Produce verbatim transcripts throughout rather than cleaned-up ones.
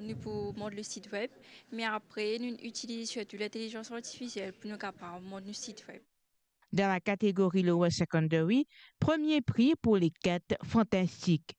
Nou pou mont le sit web, me apre nou itiliz sirtou lintelizans artifisiel pou nou kapav mont nou sit web. Dan la kategori Lower Secondary, premie pri pou lekit Fantastik.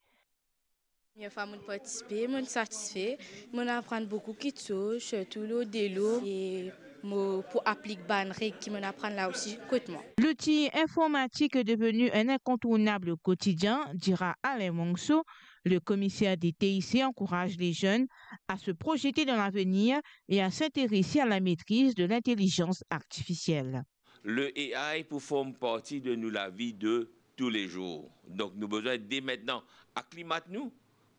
Premie fwa mo partisipe, mo satisfe, mo aprann boukou kitsoz, sirtou lor delo, e mo pou aplik bann reg ki mo aprann la osi kot mwa. L'outil informatique est devenu un incontournable au quotidien, dira Alain Monso. Le commissaire des T I C encourage les jeunes à se projeter dans l'avenir et à s'intéresser à la maîtrise de l'intelligence artificielle. Le A I pou form parti de nou lavi de toulezour. Donk nou bizin de mintnan aklimat nou,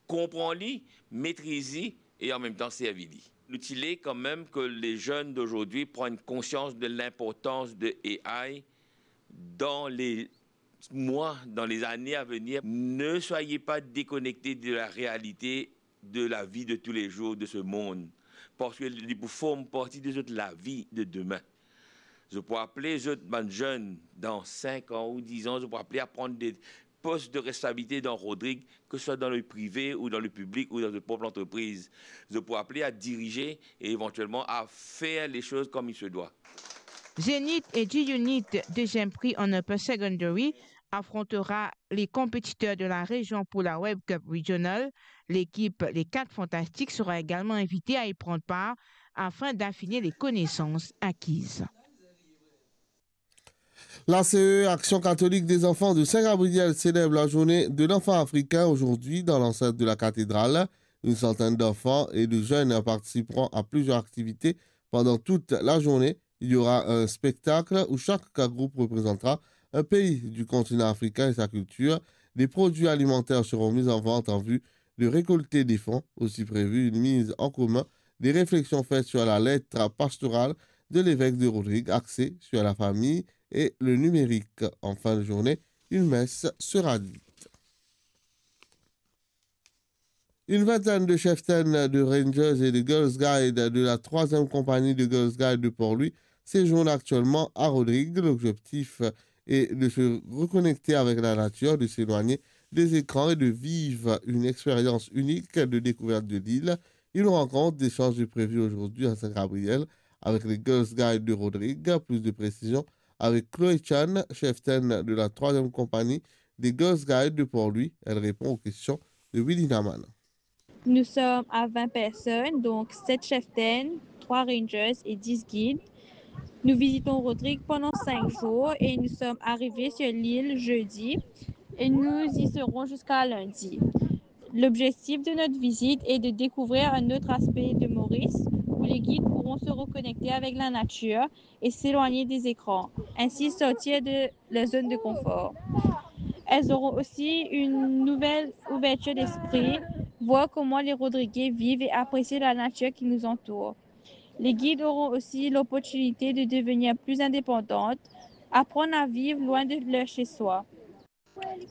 konpran li, metriz li e an mem tan servi li. Nou ti le kanmem ke les jeunes d'aujourd'hui prennent conscience de l'importance de A I dans les mois, dans les années à venir. Ne soyez pas déconnectés de la réalité de la vie de tous les jours de ce monde, parski li pou form parti de zot lavi de demin. Zot pou apel zot bann zenn dan sink an ou diz an, zot pou apel a pran de pos de responsabilite dan Rodrig, ke swa dan le prive ou dan le piblik ou dan zot prop lantrepriz. Zot pou apel a dirize e evantielman a fer les choses comme il se doit. Zenith et G-Unit, deuxième prix en upper secondary, affrontera les compétiteurs de la région pour la Web Cup Regional. L'équipe Les Quatre Fantastiques sera également invitée à y prendre part afin d'affiner les connaissances acquises. L'A C E, Action Catholique des Enfants de Saint-Gabriel, célèbre la journée de l'enfant africain aujourd'hui dans l'enceinte de la cathédrale. Une centaine d'enfants et de jeunes participeront à plusieurs activités pendant toute la journée. Il y aura un spectacle où chaque groupe représentera un pays du continent africain et sa culture. Des produits alimentaires seront mis en vente en vue de récolter des fonds. Aussi prévu une mise en commun des réflexions faites sur la lettre pastorale de l'évêque de Rodrigues, axée sur la famille et le numérique. En fin de journée, une messe sera dite. Une vingtaine de chieftains, de rangers et de Girls Guide de la troisième compagnie de Girls Guide de Port-Louis séjournent actuellement à Rodrigues. L'objectif est de se reconnecter avec la nature, de s'éloigner des écrans et de vivre une expérience unique de découverte de l'île. Une rencontre d'échange est prévue aujourd'hui à Saint-Gabriel avec les Girls Guide de Rodrigues. Plus de précisions avec Chloé Chan, chieftaine de la troisième compagnie des Girls Guide de Port-Louis. Elle répond aux questions de Willy Naman. Nous sommes à vingt personnes, donc sept chieftains, trois rangers et dix guides. Nous visitons Rodrigues pendant cinq jours et nous sommes arrivés sur l'île jeudi et nous y serons jusqu'à lundi. L'objectif de notre visite est de découvrir un autre aspect de Maurice où les guides pourront se reconnecter avec la nature et s'éloigner des écrans, ainsi sortir de leur zone de confort. Elles auront aussi une nouvelle ouverture d'esprit, voir comment les Rodriguais vivent et apprécier la nature qui nous entoure. Les guides auront aussi l'opportunité de devenir plus indépendantes, apprendre à vivre loin de leur chez-soi.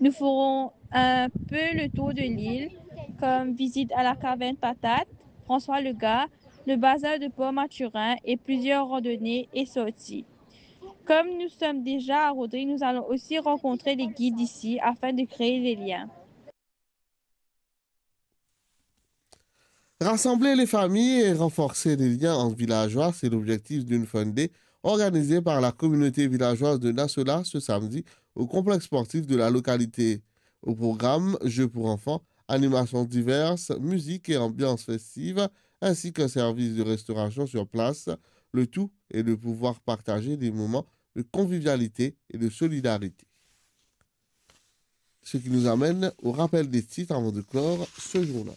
Nous ferons un peu le tour de l'île, comme visite à la caverne Patate, François Legas, le bazar de Port Mathurin et plusieurs randonnées et sorties. Comme nous sommes déjà à Rodrigues, nous allons aussi rencontrer les guides d'ici afin de créer des liens. Rassembler les familles et renforcer les liens entre villageois, c'est l'objectif d'une fun day organisée par la communauté villageoise de Nassola ce samedi au complexe sportif de la localité. Au programme, jeux pour enfants, animations diverses, musique et ambiance festive, ainsi qu'un service de restauration sur place. Le tout est de pouvoir partager des moments de convivialité et de solidarité. Ce qui nous amène au rappel des titres avant de clore ce journal.